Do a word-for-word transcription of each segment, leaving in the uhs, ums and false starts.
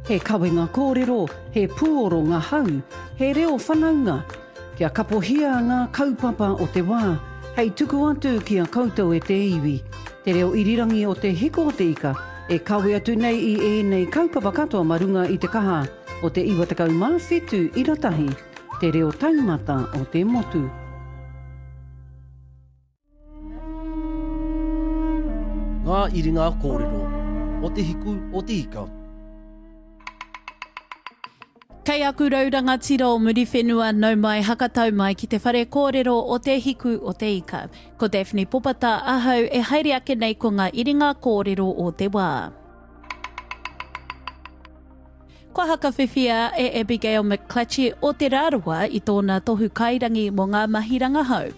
He kawenga kōrero, he pūoro ngā hau, he reo whanaunga. Kia kapohia ngā kaupapa o te wā, hei tuku atu ki a koutou e te iwi. Te reo irirangi o Te Hiko o te Ika, e kawe atu nei i ēnei kaupapa katoa ma runga i te kaha o te iwa tekau mā whitu ira tahi, te reo taumata o te motu. Ngā iringa kōrero o Te Hiku o Te Ika. Kei aku rau rangatira o Muriwhenua, nau mai hakatau mai ki te whare kōrero o Te Hiku o Te Ika. Ko Daphne Popata ahau e haere ake nei ko ngā iringa kōrero o te wā. Kua hakawhiwhia e Abigail McClatchie o Te Rarawa i tōna tohu kairangi mō ngā mahi rangahau.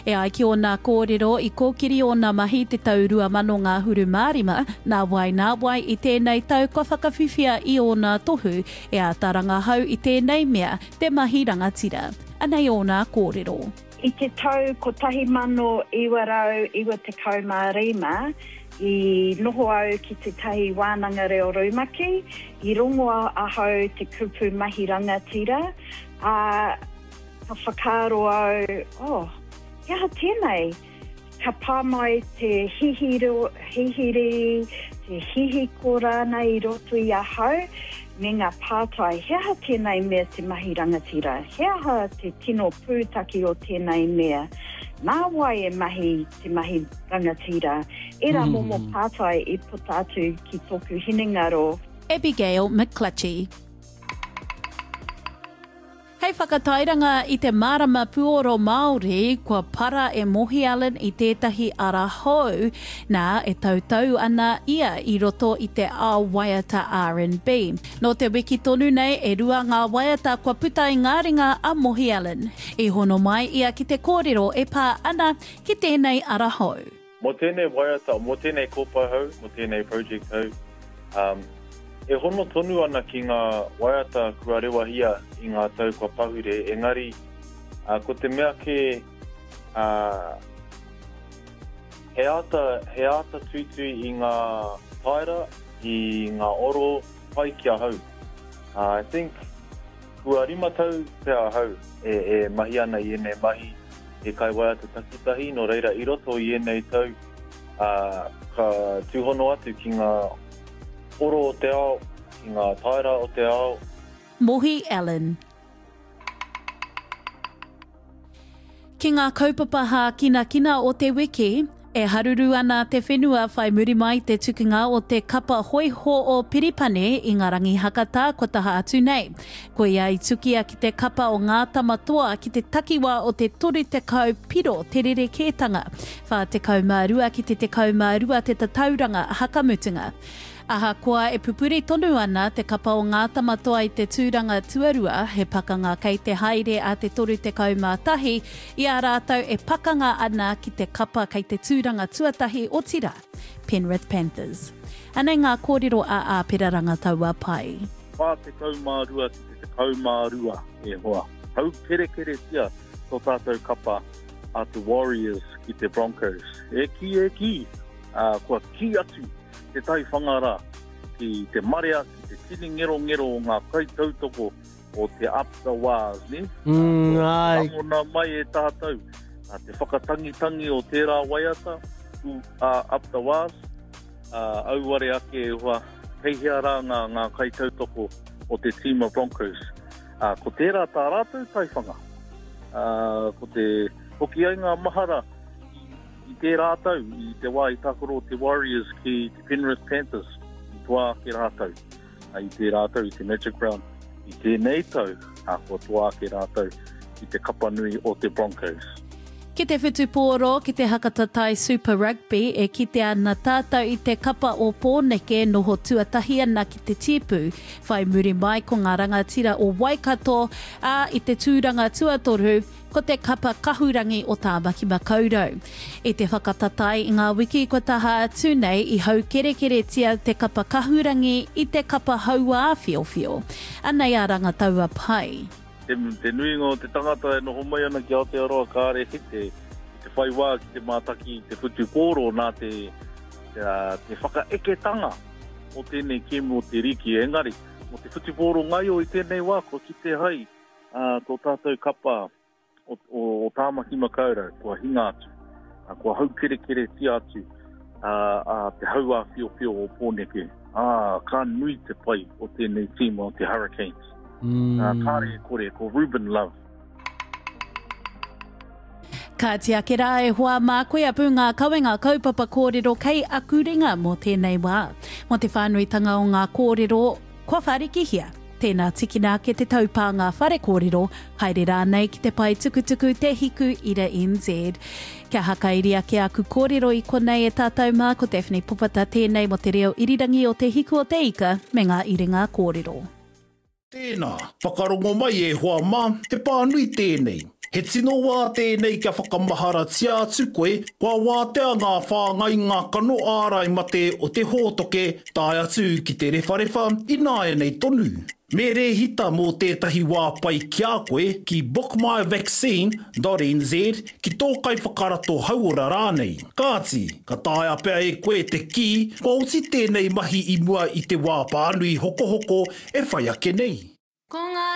E ai ki ōna kōrero i kōkiri ōna mahi te tau rua mano ngahuru mā rima, nā wai nā wai i tēnei tau kua whakawhiwhia i ōna tohu e āta rangahau i tēnei mea te mahi rangatira. Anei ōna kōrero. I te tau kotahi mano iwa rau iwa tekau mā rima, i noho au ki tētahi wānanga reo rumaki, i rongoa ahau te kupu mahi rangatira, ā, ka whakaaro au, oh, he aha tēnei? Ka pā mai te hihiro, hihiri, te hihiko rānei i roto i ahau, me ngā pātai, he aha tēnei mea te mahi rangatira? He aha te tino pūtake o tēnei mea? Nā wai e mahi te mahi rangatira? Ērā momo pātai i puta atu ki tōku hinengaro. Abigail McClutchie. Hei whakatairanga i te marama puoro Māori, kua para e Mohi Allen i tētahi ara hou, nā, e tautau ana ia i roto i te ao waiata R and B. Nō te wiki tonu nei, e rua ngā waiata kua puta i ngā ringa a Mohi Allen. I hono mai ia ki te kōrero e pā ana ki tēnei ara hou. Mō tēnei waiata, mō tēnei kōpae hou, mō tēnei project hou, um, e hono tonu ana ki ngā waiata kua rewahia i ngā tau kua pahure, engari, uh, ko te mea kē, uh, he āta, he āta tuitui i ngā taera, i ngā oro pai ki ahau. Uh, I think, kua rima tau pea ahau e, e mahi ana i ēnei mahi, e kai waiata takitahi, nō reira i roto i ēnei tau, uh, ka tūhono atu ki ngā oro o te ao, ki ngā taera o te ao. Mohi Allen. Ki ngā kaupapa hākinakina o te wiki, e haruru ana te whenua whai muri mai te tukunga o te kapa hoiho o Piripane i ngā rangi hakatā kua taha atu nei. Koia i tukia ki te kapa o Ngā Tamatoa ki te takiwā o te toru tekau piro te rerekētanga, whā tekau mā rua ki te tekau mā rua te tatauranga hakamutunga. Ahakoa e pupuri tonu ana te kapa o Ngā Tamatoa i te tūranga tuarua, he pakanga kei te haere a te toru tekau mā tahi, i a rātou e pakanga ana ki te kapa kei te tūranga tuatahi otirā, Penrith Panthers. Anei ngā kōrero a Āpera Rangataua Pai. Whā tekau mā rua ki te tekau mā rua, e hoa. Haukerekeretia tō tātou kapa a te Warriors ki te Broncos. E ki, e ki, uh, kua ki atu te taiwhanga rā ki te marea, ki te tini ngerongero o ngā kaitautoko o te Up the Wars, ne? Mm, ai. Rangona mai e tātou, a te whakatangitangi o tērā waiata, u, a, Up the Wars, a, auare ake e hoa, kei hea rā ngā, ngā kaitautoko o te tīma Broncos. A, ko tērā tā rātou taiwhanga. A, ko te hoki ai ngā mahara i tērā tau, i te wā i tākaro te Warriors ki te Penrith Panthers, i toa ake rātou. A, i tērā tau, i te Magic Round, i tēnei tau, a, kua toa ake rātou ki te kapa nui o te Broncos. Ki te whutupōro, ki te hakatatai Super Rugby, e kitea ana tātou i te kapa o Pōneke noho tuatahi ana ki te tīpū. Whai muri mai ko ngā rangatira o Waikato, ā, i te tūranga tuatoru, ko te kapa kahurangi o Tāmaki Makaurau. I te whakatatai i ngā wiki kua taha atu nei i haukerekeretia te kapa kahurangi i te kapa hauā whiowhio. Anei a Rangataua Pai. Te, te nuinga o te tangata e noho mai ana ki Aotearoa kāre te, te whai wā ki te mātaki i te whutupōro nā te, te, te whakaeketanga o tēnei kēmu o te riki. Engari, Mō te whutupōro ngaio i tēnei wā, kua kite hai uh, tō tātou kapa o, o, o Tāmaki Makaurau, kua hinga atu, uh, kua haukerekeretia atu uh, uh, te hauāwhiowhio o Pōneke. Ah, ka nui te pai o tēnei tīma o te Hurricanes. Mm. Uh, kāre e kore, ko Ruben Love. Kāti ake rā e hoa mā, koia pū ngā kawenga kaupapa kōrero kei aku ringa mō tēnei wā. Mō te whānuitanga o ngā kōrero kua whārikihia, tēnā tikina ake te taupānga whare kōrero, haere rānei ki te pae tukutuku Te Hiku Ira N Z. Kia hakairi ake aku kōrero i konei e tātou mā, ko Daphne Popata tēnei mō te reo irirangi o Te Hiku o Te Ika me ngā iringa kōrero. Tēnā, whakarongo mai e hoa mā, he pānui tēnei. He tino wā tēnei kia whakamaharatia atu koe, kua wātea ngā whāngainga kano ārai mate o te hōtoke tae atu ki te rewharewha ināianei tonu. Me rēhita mō tētahi wā pai ki a koe ki bookmyvaccine dot N Z ki tō kaiwhakarato hauora rānei. Kāti, ka taea pea e koe te kī kua oti tēnei mahi i mua i te wā pānui hokohoko e whai ake nei. Ko ngā